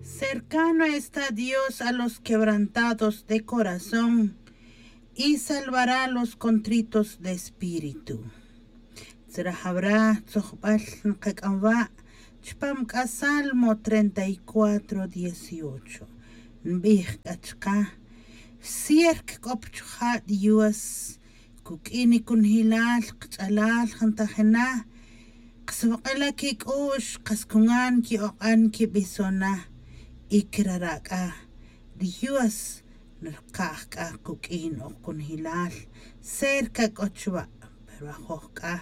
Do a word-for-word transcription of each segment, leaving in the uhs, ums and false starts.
Cercano está Dios a los quebrantados de corazón y salvará a los contritos de espíritu. Tzra jawra tzojb'al nqak'am wa' chpam k'a Salmo treinta y cuatro dieciocho. Nb'ij k'a chqä, cerca k'o pa chuja' Dios, kuk'in nikunjilal qch'alal, jantajina qsb'aq'ila' kik'u'x, qas kunan ki'oq'an kib'ison na. Y krara' k'a Dios nrqaj k'a kuk'in ok kunjilal, cerca k'o chwa'. Pero ajoj k'a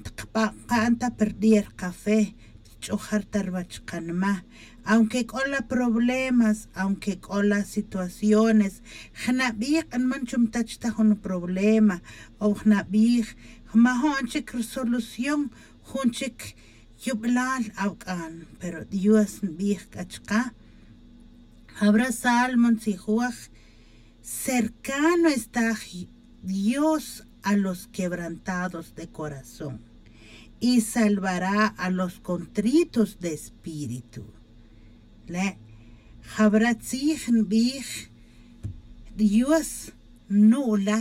tqb'an qa anta perder qafe, tch'ujar ta rwäch qanma. Aunque k'o la problemas, aunque k'o la situaciones, jna' b'ij q'anman chum tach ta jun problema, o jna' b'ij majo'n chik resolución, jun chik yub'lal awk'an. Pero Dios nb'ij k'a chqä, jawra Salmo ntzijuaj, cercano está Dios a los quebrantados de corazón y salvará a los contritos de espíritu. Le' jawra tzij nb'ij, Dios nu'la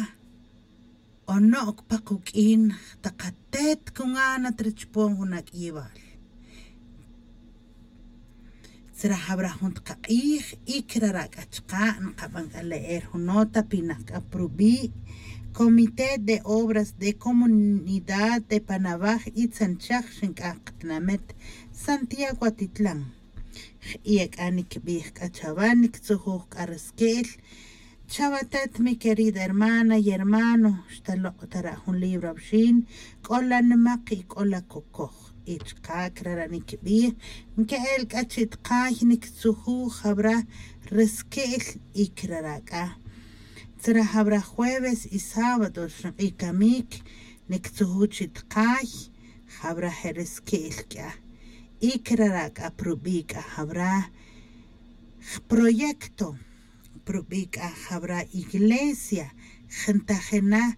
o no'k pa quk'in taq atet kunan at rchpon jun ak'yewal. Tzra jawra jun taq aq'ij, y krara' k'a chqä nqab'an k'a leer jun nota pinaq k'a pa rub'i' Comité de Obras de Comunidad de Panawaj y Tzanchaj, xink'aj qatinamet Santiago Atitlán. Jq'ia' k'a nikb'ij k'a chawa, niktzujuj k'a reske'el chawa atet, mi querida hermana y hermano, xtaloq' ta ra' jun libro awxin, k'o la nmaq y k'o la kokoj. Y chqä krara' nikb'ij, nke'el k'a chi' tqay, niktzujuj jawra reske'el. Y krara' k'a tzra jawra jueves y sábado rxinq'i' kamïk, niktzujuj chi' tqay jawra je' reske'el k'a. Y krara' k'a pa rub'i' k'a jawra proyecto, pa rub'i' k'a jawra iglesia, jantajina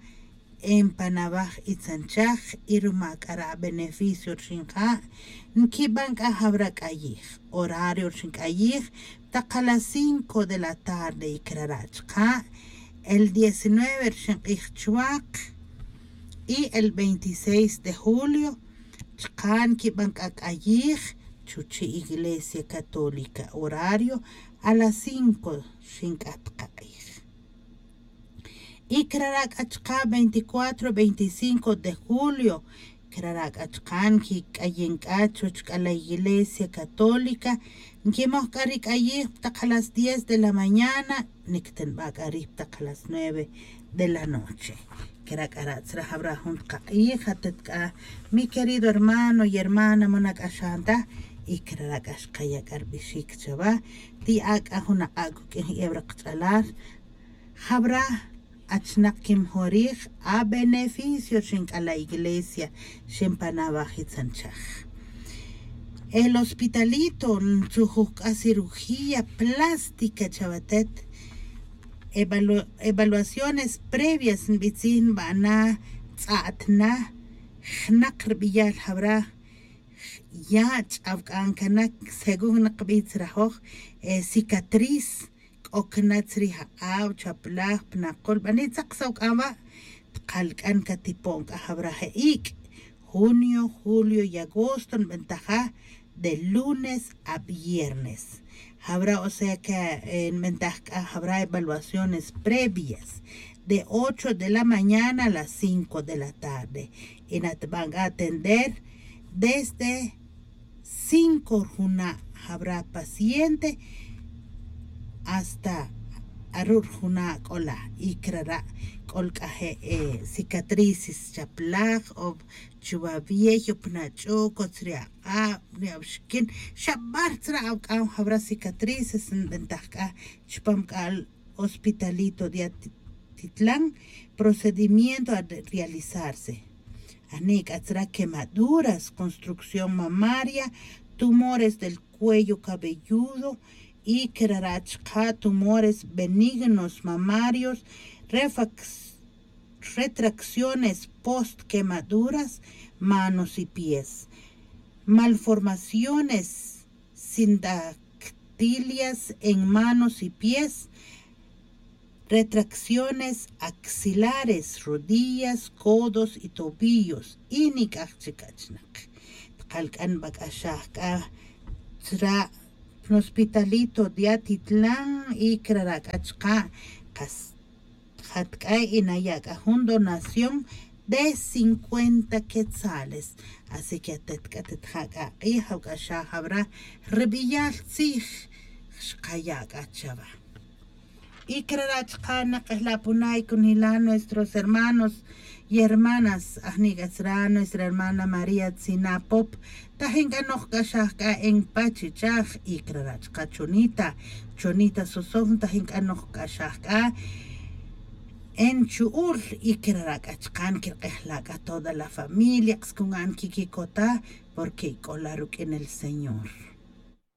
en Panawaj y Tzanchaj, y ruma k'a ra' beneficio rxinja', nkib'an k'a jawra k'ayij. Horario rxink'ayij taq a las cinco de la tarde, y krara' chqä el diecinueve rxinq'ij chwäq y el veintiséis de julio chqä nkib'an k'a k'ayij chuchi' Iglesia Católica. Horario a las cinco rxink'aj taq aq'ij. Y krara' k'a chqä veinticuatro, veinticinco de julio, krara' k'a chqä nkik'ayin k'a chuwäch k'a la Iglesia Católica, nkimoj k'a ri k'ayij pa taq a las diez de la mañana, niktinb'a' k'a rij pa taq a las nueve de la noche. Kera' k'a ra' tzra jawra jun taq aq'ij, atet k'a, mi querido hermano y hermana, ma nak'axan ta, y krara' k'a xqaya' k'a rb'ixik chawa, ti'a' k'a jun aq'a' kuk'in jyew raqch'alal, jawra achnaq kimjorij, a beneficio rxin k'a la Iglesia, rxin Panawaj y Tzanchaj. El hospitalito ntzujuj k'a cirugía plástica chawa atet. Evalu-, evaluaciones previas nb'i tzij, nb'ana, tz'a'tna, jnaq rb'iyal jawra, ya' ch'awk'an kanak, según naqb'i tzrajoj, eh, cicatriz, k'o kna chrij aq'ab', chaplaj, pa naqul, b'ani tzaq sawk'an wa', tqal k'an katipo'n k'a jawra je' ik'. Junio, julio y agosto nb'antaja de lunes a viernes. Jawra, o sea que, eh, nb'antaj k'a jawra evaluaciones previas de ocho de la mañana a las cinco de la tarde. Y natb'an k'a atender desde cinco rjuna' jawra paciente hasta aru' rjuna' k'ola, y krara' k'ol k'a je', eh, cicatrices chaplaj o chuwa wiey o pa nach'u, kotz ri aq'ab', ri awxikin, xa b'ar tzra awk'an jawra cicatrices nb'antaj k'a chupam k'a hospitalito de Atitlán, procedimiento a realizarse. Ajni' k'a tzra quemaduras, construcción mamaria, tumores del cuello cabelludo y krara' chqä tumores benignos mamarios, refax-, retracciones post quemaduras, manos y pies, malformaciones, sindactitis, Rodillas en manos y pies, retracciones axilares, rodillas, codos y tobillos y nic'aj chic achnak. Tkalc'an bac'axaj c'a chra' nospitalito de atitlan y crara' c'a chka' kas jat c'a y naya' c'a jun donación de cincuenta quetzales. Así que atet c'a tet ja c'a k'ij awc'axaj awra ri biyal tzij xkaya' c'a chawa. Y crara' chka' nak'ejla' puna y cunila nuestros hermanos y hermanas ajni' c'a tzra nuestra hermana maría tzina pop tajin c'a noj c'axaj c'a en pachichaj y crara' chka' chonita chonita sosof tajin c'a noj c'axaj c'a en chu'ul y crara' c'a chka' nquirk'ejla' c'a toda la familia k'is cungan quiquicotaj porque c'ola ruq'uin el señor.